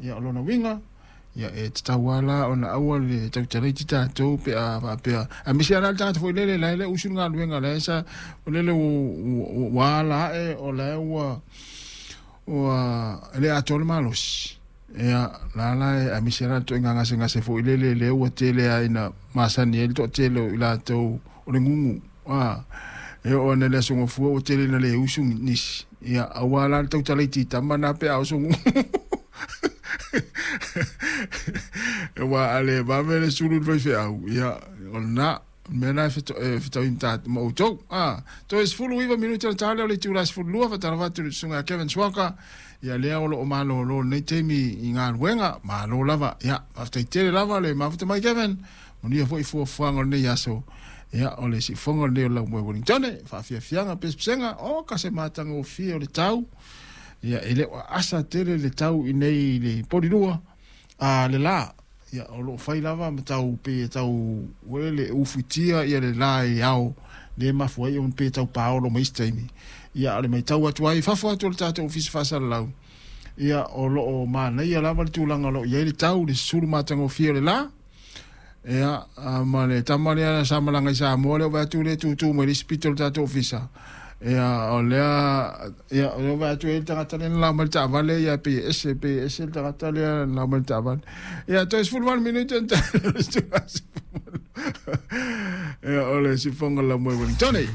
Ia, o lona uiga, ia e tatau lava la ona aua le tautala iti tatou pe a faapea, aemaise lava la le tagata foi lele la e le usu i le galuega, la e sa o lele ua ala ae o la e ua e le atoa le malosi. Ia, la la e aemaise la le ituaiga gasegase foi lele lea ua tele lava ina masani ai le toatele o i latou o le gugu. A e oo ane i le Aso Gafua ua tele ina le usu nisi. Ia, aua la le tautala iti tama na pe a oso gugu. Aua a le vave le sulu i le faifeau, ia, o lena. O le mea lena e fetaui ma outou. A, toe 19 minute ona ta lea o le itula e 12, faatalofa atu i le susuga ia Kevin Swaka, ia lea o lo o malolo i lenei taimi i galuega, malo lava. Ia, faafetai tele lava le mafuta mai Kevin, manuia foi fuafuaga o lenei aso. Ia, o le siufofoga lenei o le Laumoe Wellingtone, faafiafiaga, pesepesega, oka se matagofie o le tau. Ia, e le o aasa tele le tau i nei i le polilua a le la. Ia, o lo o fai lava ma tau pe tau uele ufuitia ia le la i ao le mafua ai ona pe tau paolo mai isi taimi. Ia, o le maitau atu ai fafo atu o le tatou ofisa faasalalau, ia, o lo o manaia lava le tulaga o lo o i ai le tau, le susulu matagofie o le la. Ia, ma le tama lea sa malaga i Samoa lea ua vaai atu lea e tutu mai le isi pito o le tatou ofisa. Ia, o lea, ia, o lea ua vaai atu e le tagata lea na lao mai le taavale, ia, pei e ese, pei e ese le tagata lea na lao mai le taavale. Ia, toe 18 minute ona Ia, o le siufofoga o le Laumoe Wellingtone.